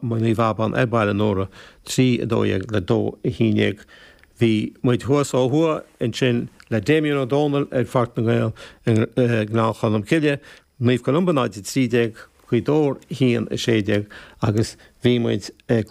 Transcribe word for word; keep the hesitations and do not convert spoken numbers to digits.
Naomh Abán ar Baile Nóra trí a dó dhéag le dó a haon déag. Bhí muid thuas ó thuaidh ansin le Damien Ó Dónaill ar Pháirc na nGael i nGleann Cholm Cille, Naomh Columba náid a trí déag, Gaoth Dobhair haon a sé déag agus bhí muid ag